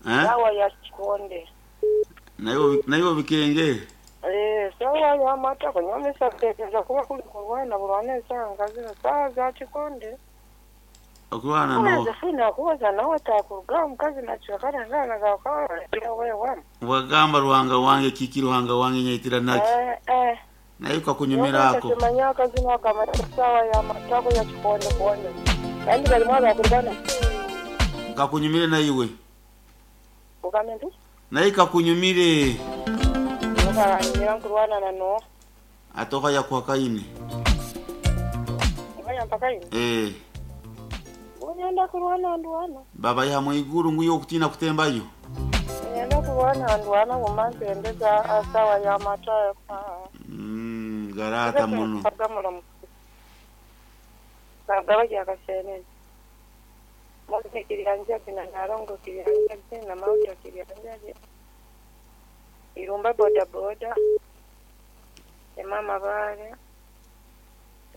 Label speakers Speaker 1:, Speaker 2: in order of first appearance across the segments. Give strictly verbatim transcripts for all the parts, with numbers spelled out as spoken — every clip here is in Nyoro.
Speaker 1: Eh?
Speaker 2: Sawa ya kikonde.
Speaker 1: Nayo nayo bikenge.
Speaker 2: Eh, sawa ya mata kunyamisa kutekereza kuba kuli kurwana burwana esanga zino sawa za kikonde.
Speaker 1: Okulwana no.
Speaker 2: Josephine akubaza nawe takuruga omukazi nakibakana ngana gakawala
Speaker 1: Wagamba ruhanga wange kiki ruhanga wange nyaitira naki.
Speaker 2: Eh eh.
Speaker 1: Nayo kakunyumira ako.
Speaker 2: Kimanya akazina akamata sawa ya matako ya kikonde konde. Kandi bali mwaga kurwana.
Speaker 1: Kakunyumire na iwe.
Speaker 2: Ugambe nti?
Speaker 1: Naye kakunyumire.
Speaker 2: Ukamanyira nkurwana na no.
Speaker 1: Atoka ya kwa kaine.
Speaker 2: Ngaya mpaka ino.
Speaker 1: Eh.
Speaker 2: Unyenda kurwana ndwana.
Speaker 1: Baba ya mwiguru nguyo okutina kutembayo.
Speaker 2: Unyenda kurwana ndwana mumanze endeza sawa ya matako.
Speaker 1: Mm, garata muno.
Speaker 2: Kagaba akasenene. Mose kiriyanja kina narongo kiriyanja kina mauta kiriyanja. Irumba boda boda. Emama bare.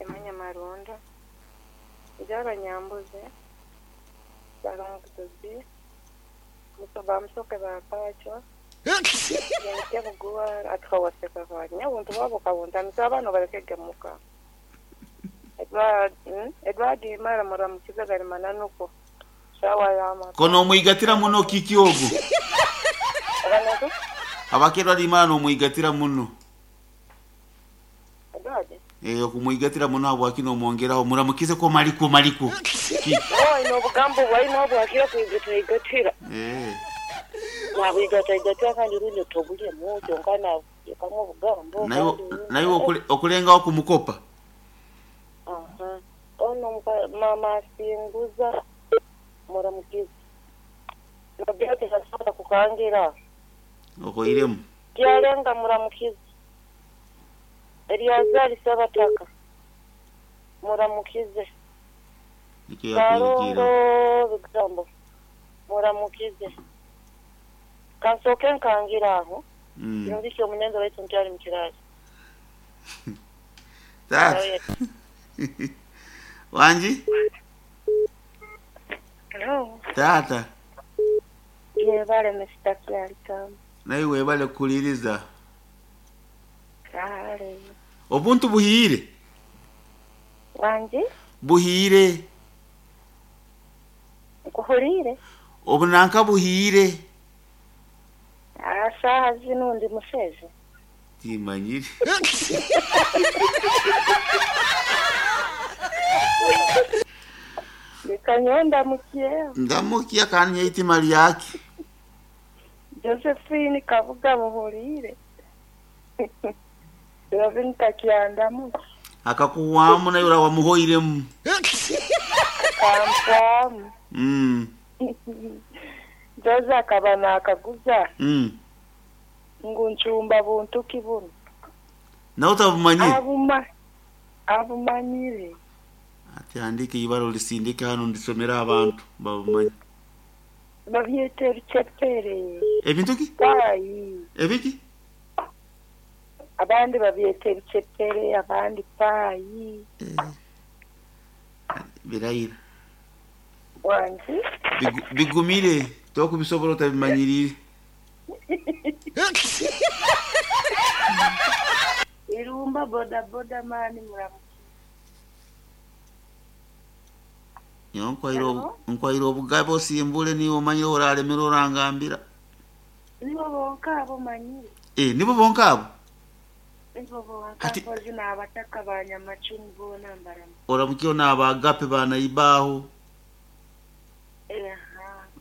Speaker 2: Emanya marunda. Njara nyambuze. Baranguzi. Musoba musoke bapacho. Yente kuguwa atkawaseka kwa. Nyabuntu babo kabunta misabano balekegemuka. Edward, mm? Edward mara mara mukiza gari mananuko. Sawa ya mata.
Speaker 1: Kono omwigatira muno kiki ogo.
Speaker 2: Abanatu?
Speaker 1: Abakerwa limana omwigatira muno.
Speaker 2: Edward.
Speaker 1: Eh okumwigatira muno abwakino omwongeraho muramukize ko maliko maliko. Ki?
Speaker 2: Oh, ino bugambo bwaino bwakira kuigata igatira.
Speaker 1: Eh.
Speaker 2: Nabigata igatira kandi rundi tobulye mujo ngana yakamwe bugambo.
Speaker 1: Nayo nayo okule, okulenga okumukopa.
Speaker 2: Aha. Ono mama singuza muramukize. Nabyo tisasaba kukangira.
Speaker 1: Okoiremu.
Speaker 2: Kyalenga muramukize. Eliazari sabataka. Muramukize.
Speaker 1: Nikyo yakwirikira.
Speaker 2: Karongo bigambo. Muramukize. Kansoke nkangira aho.
Speaker 1: Mm.
Speaker 2: Kirungi omunenzo waitu nkyali mukirasi.
Speaker 1: Tata. Wanji?
Speaker 2: Hello.
Speaker 1: Tata.
Speaker 2: Yebale Mister Kyalikamu.
Speaker 1: Naye webale kuliriza.
Speaker 2: Kale.
Speaker 1: Obuntu buhire.
Speaker 2: Wanji?
Speaker 1: Buhire.
Speaker 2: Nkuhulire.
Speaker 1: Obunanka buhire.
Speaker 2: Asaha zino ndi museze.
Speaker 1: Timanyire.
Speaker 2: Nikanyonda mukie.
Speaker 1: Ndamukia kanye itima lyake.
Speaker 2: Josephine kavuga muhulire. Robin kakiandamu.
Speaker 1: Akakuwamu nayo wamuhoiremu.
Speaker 2: Kampamu.
Speaker 1: Mm.
Speaker 2: Joza akabana akaguza.
Speaker 1: Mm.
Speaker 2: Ngunchumba buntu kibuno.
Speaker 1: Na utabumanyire?
Speaker 2: Abuma abumanyire.
Speaker 1: Ati andike ibaro lisindike hano ndisomera abantu babumanye.
Speaker 2: Babyete bicepere.
Speaker 1: Ebintu ki?
Speaker 2: Payi.
Speaker 1: Ebiki?
Speaker 2: Abandi babyete bicepere, abandi payi.
Speaker 1: Eh. Birayira.
Speaker 2: Wanji?
Speaker 1: Bigu, bigumire tokubisobola otabimanyirire.
Speaker 2: Irumba boda boda mani muramu.
Speaker 1: Nyo nkwairo nkwairo obugabo simbule ni omanyire oralemera orangambira.
Speaker 2: Nibo bonka abo manyire.
Speaker 1: Eh nibo bonka abo.
Speaker 2: Nibo bonka kozi na abataka banyamachuni bona mbaramu.
Speaker 1: Oramukio na abagape bana ibaho.
Speaker 2: Eh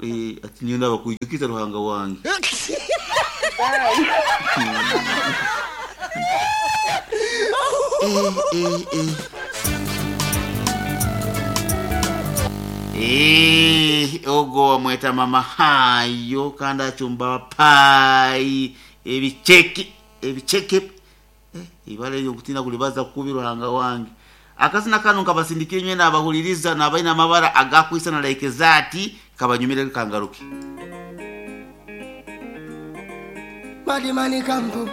Speaker 1: Eh ati niyo ndabakuyikiza ruhanga wange.
Speaker 2: Bye.
Speaker 1: Eh eh eh. Eh ogo wamweta mama hayo kandi achumba pai ebicheki ebicheke eh ibale yo kutina kulibaza kubi ruhanga wange. Akazina kanu kabasindikire nywe nabahuliriza nabaina amabara agakwisa na like zati kabanyumire kangaruki.
Speaker 3: Madimani kampu.